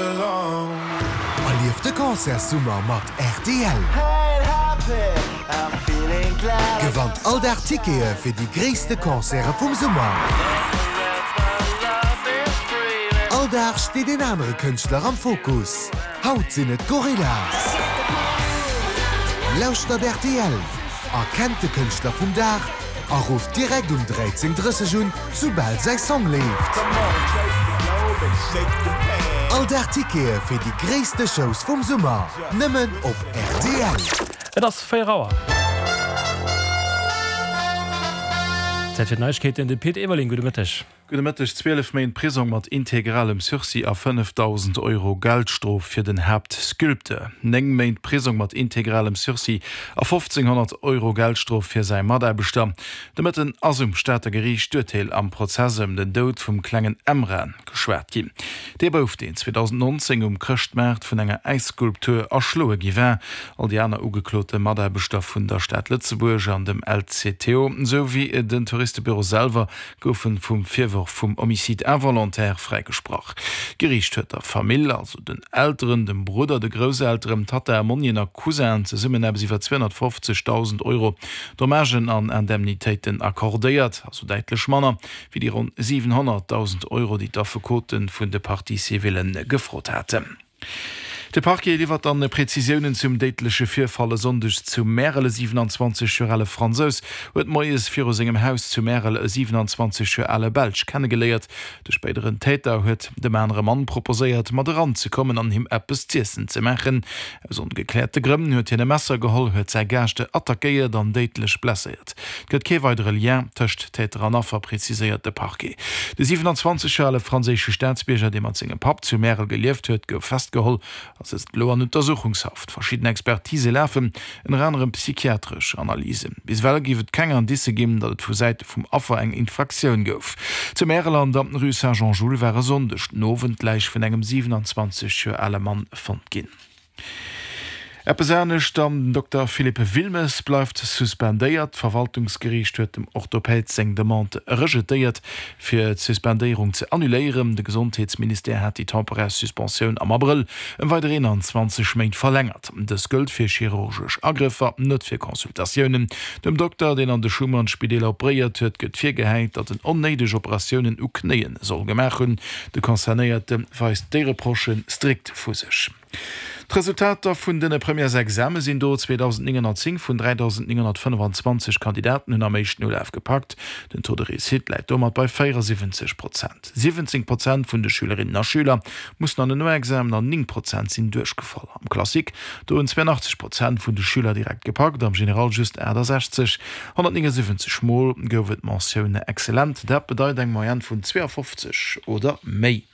Erlieft de Concertssummer mat rtl! Gewannt all Dag Tickete fir déi gréisste Concerte vum Summer! All Dag steet een anere Kënschtler am Fokus. Haut sinn et d'Gorillaz! Lauschtert rtl, erkennt de Kënschtler vum Dag a rufft direkt um 13:30 un, soubal säi Song leeft. All Dag Tickete fir déi gréisste Shows vum Summer, nëmmen op rtl. Et ass 4 Auer. Zäit fir d'Neiegkeeten, de Pit Everling. Gudde Mëtteg. Gudde Mëtteg. 12 Méint Prisong mat integralem Sursis a 5.000 Euro Geldstrof fir den Haaptsculpteur. 9 Méint Prisong mat integralem Sursis a 1.500 Euro Geldstrof fir säi Mataarbechter. De Mëtten ass um Stater Geriicht d'Urteel am Prozess ëm den Doud vum klengen Emran geschwat ginn. Dee Bouf, deen 2019 um Chrëschtmaart vun enger Äisskulptur erschloe gi war. All déi aner ugeklote Mataarbechter vun der Stad Lëtzebuerg an dem LCTO, sou wéi den Touristebüro selwer goufen vum Virworf vum Homicide involontaire fräigesprach. D'Geriicht huet der Famill, also den Elteren, dem Brudder, de Grousselteren, Tatta, Monnien a Cousinen zesummen eppes iwwer 250.000 Euro Dommagen an Indemnitéiten accordéiert, also däitlech manner wéi déi ronn 700.000 Euro, déi d'Affekote vun de Parties civillen gefrot haten. De Parquet liwwert dann Prezisiounen zum déidleche Virfall e Sonndeg zu Märel. E 27 Joer ale Fransous huet moies viru sengem Haus zu Märel e 27 Joer ale Belsch kennegeléiert. De spéideren Täter huet dem anere Mann proposéiert, mat eranzekommen an him eppes z'iessen ze maachen. Aus ongekläerte Grënn huet hien e Messer geholl, huet säi Gaascht attackéiert an déidlech blesséiert. Et gëtt kee weidere Lien tëscht Täter an Affer, preziséiert de Parquet. De 27 Joer ale franséische Staatsbierger, dee mat sengem Papp zu Märel gelieft huet, gouf festgeholl a sëtzt elo an Untersuchungshaft. Verschidden Expertise lafen, ënner anerem psychiatresch Analysen. Bis ewell géif et keng Indicë ginn, datt et vu Säite vum Affer eng Infraktioun gouf. Zu Märel an der Rue Saint-Jean-Jules war e Sonndeg den Owend d'Läich vun engem 27 Joer ale Mann fonnt ginn. Eppes anescht dann, Den Dokter Philippe Wilmes bleift suspendéiert. D'Verwaltungsgeriicht huet dem Orthopäd seng Demande rejetéiert, fir d'Suspendéierung ze annuléieren. De Gesondheetsministère hat déi temporär Suspensioun am Abrëll ëm weider 21 Méint verlängert. Dës gëllt fir chirurgesch Agrëffer, net fir Consultatiounen. Dem Dokter, deen an de Schuman-Spideeler operéiert huet, gëtt virgehäit, datt en onnéideg Operatiounen u Knéie soll gemaach hunn. De Concernéierte weist déi Reprochë strikt vu sech. D'Resultater vun den Premièresexame sinn do, 2.910 vun 3.925 Kandidaten hunn am éischten Ulaf gepackt. Den Taux de réussite läit domat bei 74 Prozent. 17 Prozent vun de Schülerinnen a Schüler mussen an en Noexamen an 9 Prozent sinn duerchgefall. Am Classique, do hunn 82 Prozent vun de Schüler direkt gepackt, am General just 68. 179 Mol gouf et d'Mentioun excellent, dat bedeit eng Moyenne vun 52 oder méi.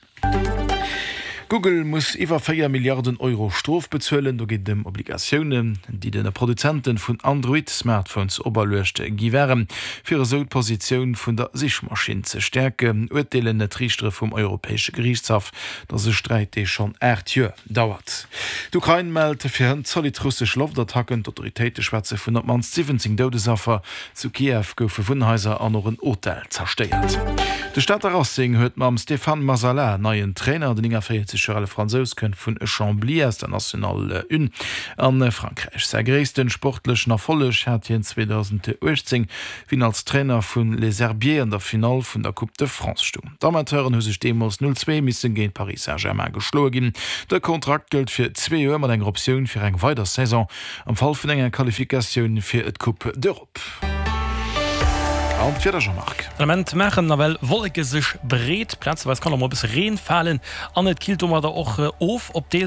Google muss iwwer 4 Milliarden Euro Strof bezuelen. Do geet et ëm Obligatiounen, déi de Produzente vun Android-Smartphones operluecht gi waren, fir esou d'Positioun vun der Sichmaschinn ze stäerken, urteelen d'Riichtere vum Europäesche Geriichtshaff. Dat ass e Sträit, dee schonn 8 Joer dauert. D'Ukrain mellt fir hënt zolidd russesch Loftattacken. D'Autoritéite schwätze vun op d'mannst 17 Doudesaffer. Zu Kiew goufe Wunnhaiser an och en Hotel zerstéiert. De Stater Racing huet mam Stéphane Mazala en neien Trainer. Den 49 Joer ale Fransous kënnt vun Chambly aus der National 1 a Frankräich. Säi gréissten sportlechen Erfolleg hat hien 2018, wéi en als Trainer vun Les Herbiers an der Finall vun der Coupe de France stoung. D'Amateuren hu sech deemools 0, 2 misse géint Paris Saint-Germain geschloe ginn. De Kontrakt gëllt fir zwee Joer mat enger Optioun fir eng weider Saison. Am Fall vun enger Qualifikatioun fir d'Coupe d'Europe. An d'Wieder, Jean-Marc? Den Ament maachen nawell Wolleke sech breet, plazeweis kann och mol e bësse Reen falen an et killt domadder och of op deels.